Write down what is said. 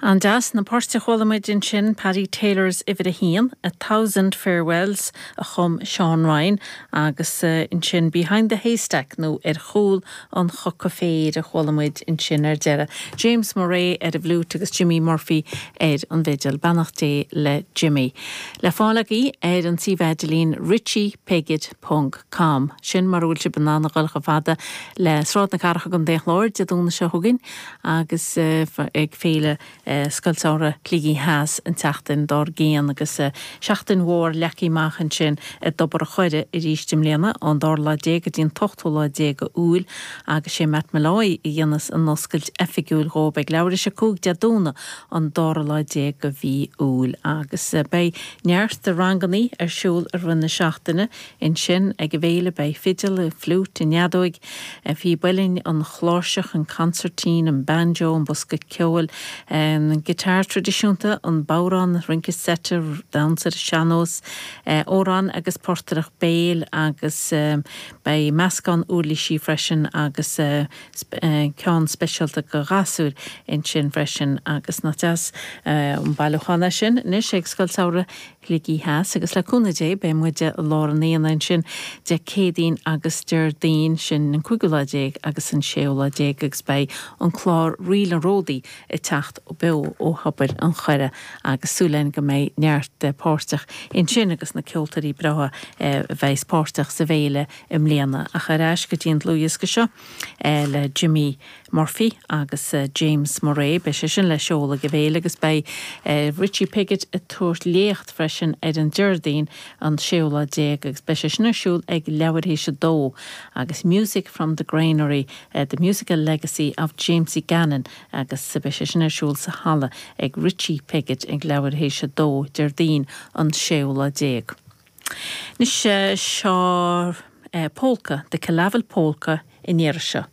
An-deas. Na poirt a chuala muid ansin, Paddy Taylor's Uimhir a hAon, A Thousand Farewells a chum Seán Ryan agus ansin Behind the Haystack nó Ar Chúl an Choca Féir a chuala muid ansin ar deireadh. James Murray ar an bhfliúit agus Jimmy Murphy ar an bhfidil. Beannacht Dé le Jimmy. Le fáil agaibh ar an suíomh idirlín richiepiggott ponc com. Sin mura bhfuil sibh in ann a dhul chomh fada le Sráid na Cathrach i gContae an Chláir Dé Domhnaigh seo chugainn agus ag Féile Scoil Samhraidh Shligigh Theas an tseachtain dár gcionn agus seachtain mhór leagtha amach ansin i dTobar a' Choire arís i mbliana ón dara lá déag go dtí an t-ochtú lá déag Iúil agus sé Matt Molloy a dhéanfas an oscailt oifigiúil dhóib ag leathuair théis 5 Dé Domhnaigh an dara lá déag de mhí Iúil agus beidh neart de rangannaí ar siúl i rith na seachtaine ansin ag an bhféile beidh fidil, fliúit, an fheadóig, píb uilleann, an chláirseach, an consairtín, an banjo, an bosca ceoil, an guitar traidisiúnta, an bodhrán, rince seite, damhsa ar an sean-nós, amhráin agus portaireacht béil agus beidh meascán uirlisí freisin agus ceann speisialta do ghasúir ansin freisin agus nach deas an bailiúchán é sin anois ag Scoil Samhraidh Shligigh Theas agus le cúnamh Dé beidh muid i lár an aonaigh ansin Dé Céadaoin agus Déardaoin, sin an cúigiú lá déag agus an séú lá déag agus beidh an clár Ríl an Ródaí ag teacht beo ó Thobar an Choire agus súil againn go mbeidh neart páirteach ansin agus na ceoltóirí breátha a bheas páirteach sa bhféile i mbliana. Ach ar ais go dtí an dlúthdhiosca seo le Jimmy Murphy agus James Murray. Beidh sé sin le seoladh ag an bhféile agus beidh Richie Piggott ag tabhairt léacht freisin ar an Déardaoin an séú lá déag agus beidh sé sin ar siúl ag leathuair théis a dó agus Music from the Granary, The Musical Legacy of Jamesie Gannon agus beidh sé sin ar siúl sa halla ag Richie Piggott ag leathuair théis a dó Déardaoin an séú lá déag. Anois seo Polca, The Killavil Polka an iarraidh seo.